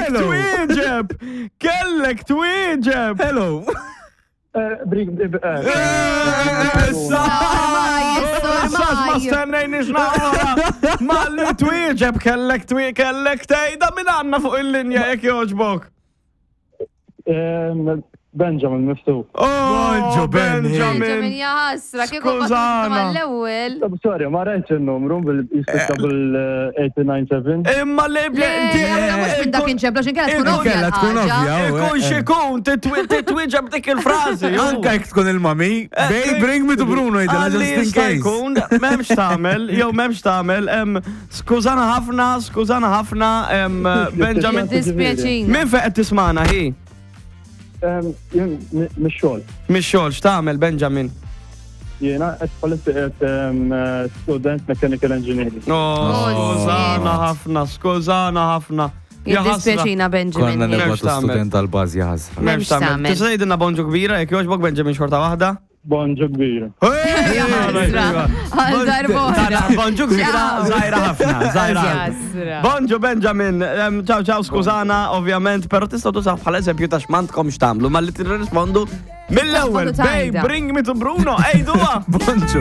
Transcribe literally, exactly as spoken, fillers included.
Kellek Hello. twieġeb! Kellek twieġeb! Hello. Eh, Bring, eh, Issa! Ormai, Issa ma ormai. stennejniex naqra! Ma li twieġeb kellek twie kellek tgħidha minn għandna fuq il-linja jekk jogħġbok. Em, Benjamin Mifsud. Oh, Bonġu, Benny. Benjamin Benjamin. jaħasra, kieku Skużana. mal-ewwel. Sorry, ma rajtx il-numru bil-jispiċċa bil-eight nine seven. Imma li Le, aħna mhux minn dak inċemplu, għax inkella tkun ovvja Inkella tkun l-ħaġa. ovvja. oh, Ikun eh, eh. xikun, titwieġeb dik il-frażi. Anka jekk tkun il-mami, "Babe, bring me to Bruno," jgħidilha Għalli just in jista' case. jkun, m'hemmx tagħmel, jew m'hemmx tagħmel, em, skużana ħafna, skużana ħafna, em, Benjamin. Dispjaċina. Min fejn qed tismana hi? Em, Jien mix-xogħol. Mix-xogħol, x'tagħmel, Benjamin? Jiena qed bħalissa qed em, student mechanical engineering. Oh, skużana ħafna, skużana ħafna. Ja ħasra. Jiddispjaċina, Benjamin. Konna M'hemmx nibgħatu tagħmel. student tal-bażi ħasra. M'hemmx M'hemmx tagħmel. tagħmel. Tista' tgħidilna bonġu kbira jekk jogħġbok, Benjamin, xorta waħda? Bonġu kbira. Ja ħasra. Għal darb'oħra. Bonġu kbira, Ciao. żgħira ħafna, żgħira. Ħasra. Bonġu Benjamin, Em, ciao ciao, skużana ovvjament, pero tistgħu tużaw bħala eżempju ta' x'mandkom x'tagħmlu, malli tirrispondu mill-ewwel. Taspondu "Babe, tajda. bring me to Bruno," ejduha. Bonġu.